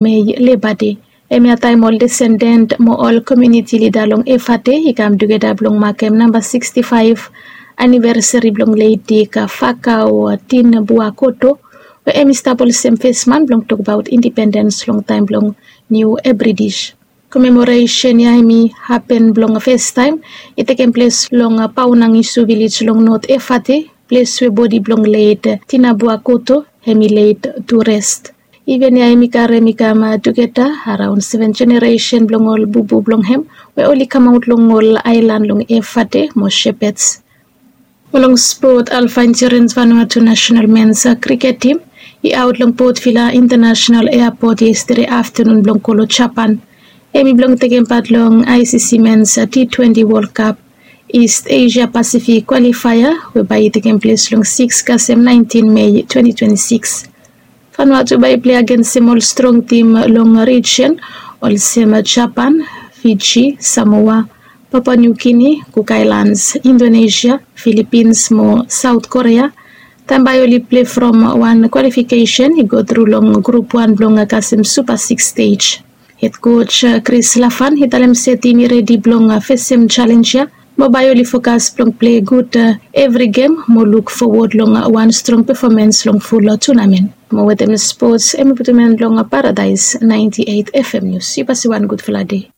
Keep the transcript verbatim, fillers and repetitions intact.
Mei Leba Dei. Hemia taem ol desenden mo ol komuniti lida long Efate i kam tugeta blong makem namba siksti faef anivesari blong leit Dik Fakau Tin Buakoto, we hem i stap olsem fesman blong tokbaot indipendens long taem blong Niu British. Komemoresen ya hem i hapen blong festaem i tekem ples long Paonangisu vilej long Not Efate, ples we bodi blong leit Tin Buakoto hem i leit tu res. Iven ya hem i karem i kam tugeta araon seven jeneresen blong ol bubu blong hem we oli kamaot long ol aelan long Efate mo Shepherds. Mo long spot, Alpha Insurance Vanuatu National Men's Cricket Team i aot long Port Vila International Airport yestede aftenun blong go long Japan. Hem i blong tekem pat long I C C Men's T twenty World Cup East Asia Pacific Qualifier we bae i tekem ples long sikis kasem naentin Mei twenti twenti sikis. Vanuatu bae i plei agensem ol strong tim long rijen olsem Japan, Fiji, Samoa, Papua New Guinea, Cook Islands, Indonesia, Philippines mo South Korea. Taem bae oli plei from wan kwalifikesen i go tru long grup wan blong kasem Super Six stej. Hed koj Chris Lafan i talem se tim i redi blong fesem jalenj ya mo bae oli fokas blong plei gud evri gem mo luk fowod long wan strong pefomens long ful tunamen. Mo wetem spots hem i putum en long Paradaes naenti eit F M Nius. Yu basi wan gudfala dei.